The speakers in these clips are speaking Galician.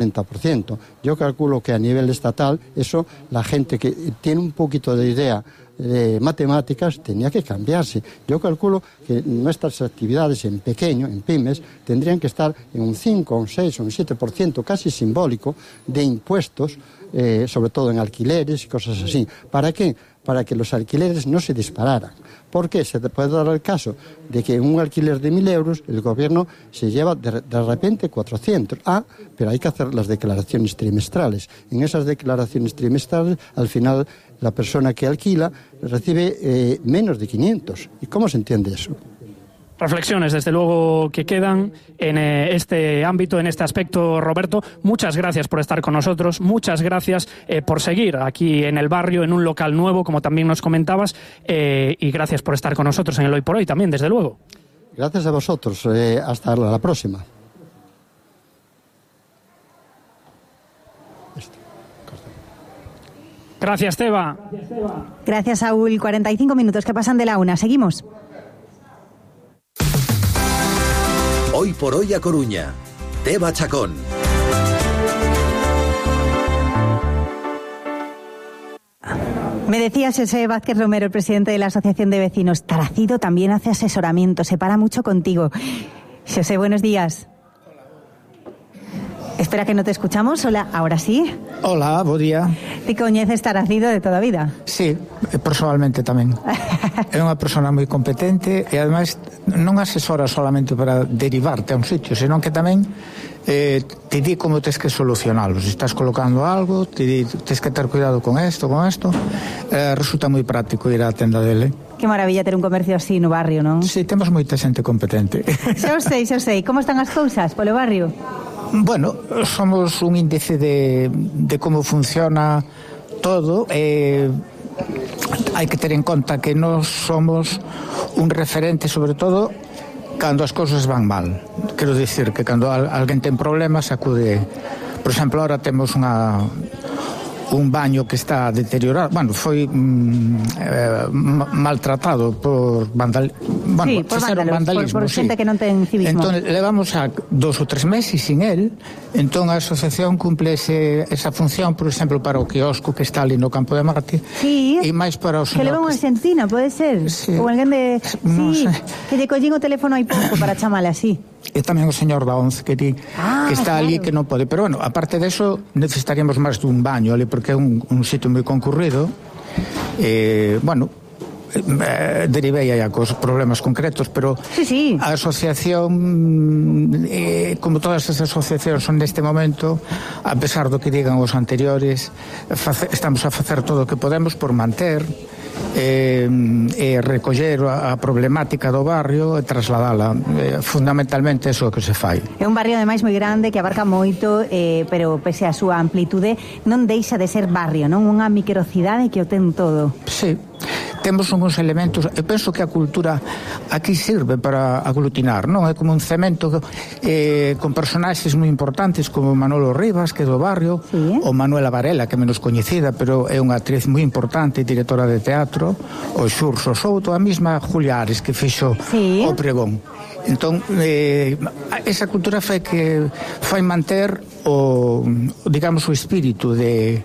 30%. Yo calculo que a nivel estatal, eso, la gente que tiene un poquito de idea de matemáticas tenía que cambiarse. Yo calculo que nuestras actividades en pequeño, en pymes, tendrían que estar en un 5, un 6 o un 7% casi simbólico de impuestos, sobre todo en alquileres y cosas así. ¿Para qué? Para que los alquileres no se dispararan. Porque se puede dar el caso de que en un alquiler de 1.000 euros el gobierno se lleva de repente 400. Pero hay que hacer las declaraciones trimestrales. En esas declaraciones trimestrales, al final, la persona que alquila recibe menos de 500. ¿Y cómo se entiende eso? Reflexiones, desde luego, que quedan en este ámbito, en este aspecto. Roberto, muchas gracias por estar con nosotros, muchas gracias por seguir aquí en el barrio, en un local nuevo, como también nos comentabas, y gracias por estar con nosotros en el Hoy por Hoy también, desde luego. Gracias a vosotros, hasta la próxima. Gracias, Teba. Gracias, Saúl. 45 minutos que pasan de la 1. Seguimos. Hoy por Hoy a Coruña. Teba Chacón. Me decía José Vázquez Romero, el presidente de la Asociación de Vecinos. Taracido también hace asesoramiento, se para mucho contigo. José, buenos días. Espera que no te escuchamos. Hola, ahora sí. Hola, bo día. Ti coñeces Taracido de toda a vida? Sí, personalmente tamén. É unha persona moi competente e ademais non asesora solamente para derivarte a un sitio, senón que tamén te di como tens que solucionalo. Se estás colocando algo, te di, tens que ter cuidado con esto. Resulta moi práctico ir á tenda dele. Que maravilla ter un comercio así no barrio, non? Sí, temos moita xente competente. Xa sei. Como están as cousas polo barrio? Bueno, somos un índice de como funciona todo. Hai que ter en conta que nós somos un referente, sobre todo cando as cousas van mal. Quero dicir que cando alguén ten problemas acude. Por exemplo, ahora temos un baño que está deteriorado, foi maltratado por vandalismo, por xente que non ten civismo. Entón, levamos a 2 ou 3 meses sin él. Entón, a asociación cumple esa función, por exemplo, para o quiosco que está ali no Campo de Marte. Sí, e máis para o señor que leva unha argentina, pode ser? Sí. Ou alguén de... Non sí, sei. que lle collín o teléfono hai pouco para chamale así. E tamén o señor da 11 que está ali que non pode. Pero bueno, aparte de eso, necesitaríamos máis dun baño ali, porque é un sitio moi concurrido. Derivei aí a cos problemas concretos, pero sí. A asociación, como todas as asociacións son neste momento, a pesar do que digan os anteriores, estamos a facer todo o que podemos por manter recoller a problemática do barrio e trasladala. Fundamentalmente é o que se fai. É un barrio ademais moi grande que abarca moito, pero pese a súa amplitude non deixa de ser barrio, non? Unha microcidade que o ten todo. Sí. Temos uns elementos, eu penso que a cultura aquí sirve para aglutinar, non? É como un cemento con personaxes moi importantes como Manolo Rivas, que é do barrio, sí. Ou Manuela Varela, que é menos coñecida, pero é unha actriz moi importante, directora de teatro, o Xurxo Souto, a mesma Julia Ares, que fixo sí. O Pregón. Entón, esa cultura fai manter o espírito de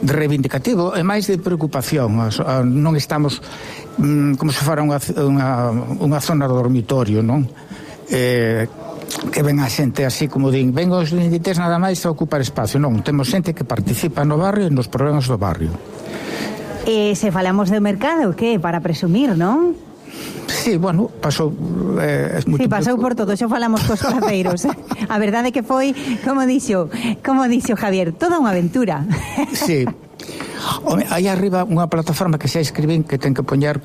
reivindicativo e máis de preocupación. Non estamos como se fora unha zona de dormitorio, non? Que ven a xente así como din, ven os lindites nada máis a ocupar espacio. Non, temos xente que participa no barrio e nos problemas do barrio. Se falamos do mercado, que? Para presumir, non? Sí, bueno, pasou pasou por todo, xa falamos cos placeiros. A verdade que foi, como dixo Javier, toda unha aventura. Sí. Aí arriba unha plataforma que xa escribín que ten que poñer,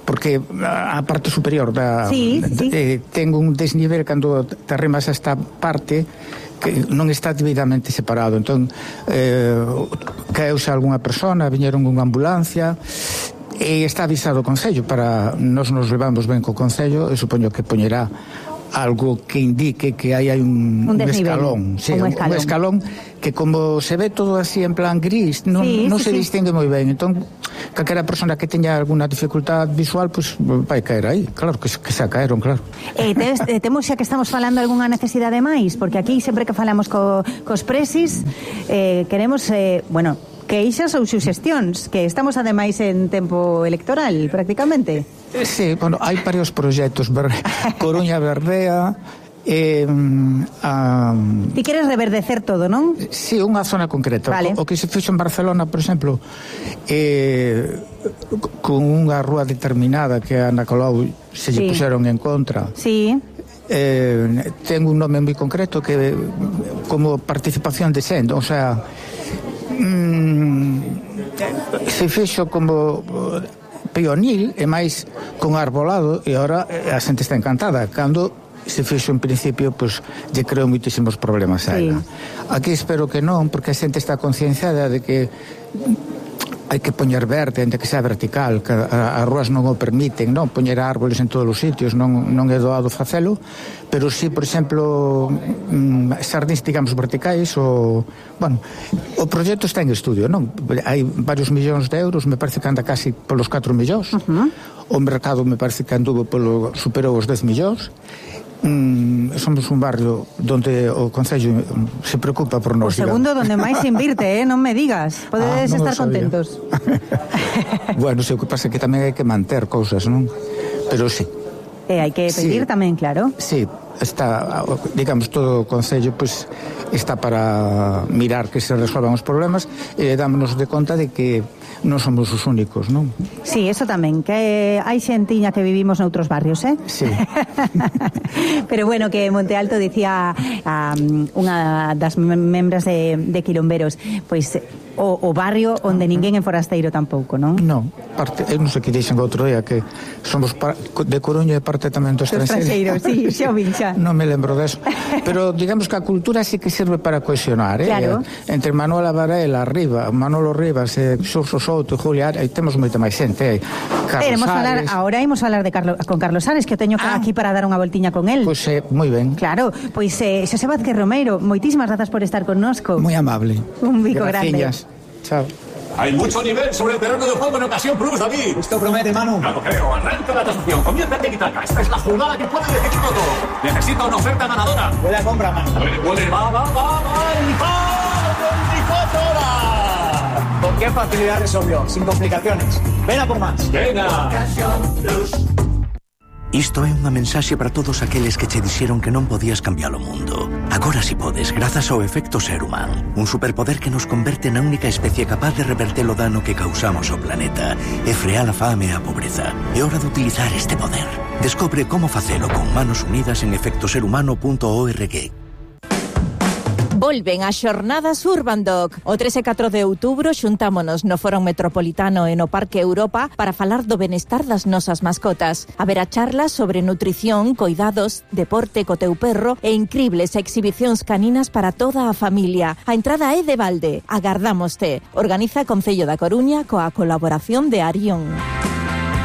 porque a parte superior ten un desnivel cando te arrimas a esta parte que non está debidamente separado. Entón, caeuse algunha persona, viñeron unha ambulancia. E está avisado o Concello, para nos levamos ben co Concello, e supoño que poñerá algo que indique que hai un escalón, sí, un escalón que como se ve todo así en plan gris, non se distingue moi ben. Entón, calquera persona que teña alguna dificultad visual, pues vai caer aí. Claro que se caeron, claro. Temos xa que estamos falando algunha necesidade máis, porque aquí sempre que falamos cos presis, queremos, queixas ou suxestións, que estamos ademais en tempo electoral, prácticamente. Sí, bueno, hai varios proxectos, Coruña Verdea, Ti queres reverdecer todo, non? Sí, unha zona concreta. Vale. O que se fixo en Barcelona, por exemplo, con unha rúa determinada que a Ana Colau se lle puxeron en contra. Sí. Ten un nome moi concreto que como participación de sendo, o sea, se fixo como peonil e máis con arbolado, e agora a xente está encantada. Cando se fixo en principio, pois lle creo moitísimos problemas a ela. Aquí espero que non, porque a xente está concienciada de que hai que poñer verde, de que sea vertical, que as rúas non o permiten, non poñer árboles en todos os sitios, non é doado facelo, pero si, por exemplo, xardíns, digamos, verticais, o proxecto está en estudio, non? Hai varios millóns de euros, me parece que anda casi polos 4 millóns, o mercado me parece que anduvo superou os 10 millóns. Somos un barrio donde o Concello se preocupa por nós. O segundo donde máis se invirte, non me digas. Podedes estar contentos. Bueno, o que pasa é que tamén hai que manter cousas, non? Pero sí. E hai que pedir tamén, claro. Sí, está, digamos, todo o Concello pues, está para mirar que se resolvan os problemas e dámonos de conta de que non somos os únicos, non? Sí, eso tamén, que hai xentiña que vivimos noutros barrios, Sí. Pero bueno, que Monte Alto dicía unha das membras de Quilomberos, pois o barrio onde ninguén é forasteiro tampouco, non? Non, eu non sei que dixen outro día que somos de Coruña e parte tamén do estranxeiro. Sí, xa o vin, xa. Non me lembro deso. Pero digamos que a cultura sí que sirve para cohesionar, Claro. Entre Manuela Varela, arriba, Manolo Rivas, Xurxo Souto, Julia, aí temos moita máis xente, Carlos Ares. Ahora imos falar con Carlos Ares, que o teño aquí para dar unha voltiña con él. Pois moi ben. Claro, pois Xosé Vázquez Romeiro, moitísimas grazas por estar connosco. Moi amable. Un bico grande. Chao. Hay mucho nivel sobre el terreno de juego en Ocasión Plus, David. Esto promete, Manu. Claro, creo. Arranca la tasación. Comienza el tiki-taka. Esta es la jugada que puede decidirlo todo. Necesito una oferta ganadora. Buena compra, Manu. Puede. Va. Con qué facilidad resolvió, sin complicaciones. Ven a por más. Venga. Isto é unha mensaxe para todos aqueles que che dixeron que non podías cambiar o mundo. Agora si podes, grazas ao efecto Seruman, un superpoder que nos converte na única especie capaz de reverter o dano que causamos ao planeta e frear a fame e a pobreza. É hora de utilizar este poder. Descobre como facelo con manos unidas en efectoserhumano.org. Volven as xornadas Urbandoc. O 3 e 4 de outubro xuntámonos no Foro Metropolitano e no Parque Europa para falar do benestar das nosas mascotas. Haberá charlas sobre nutrición, coidados, deporte co teu perro e incribles exhibicións caninas para toda a familia. A entrada é de balde. Agardámoste. Organiza Concello da Coruña coa colaboración de Arión.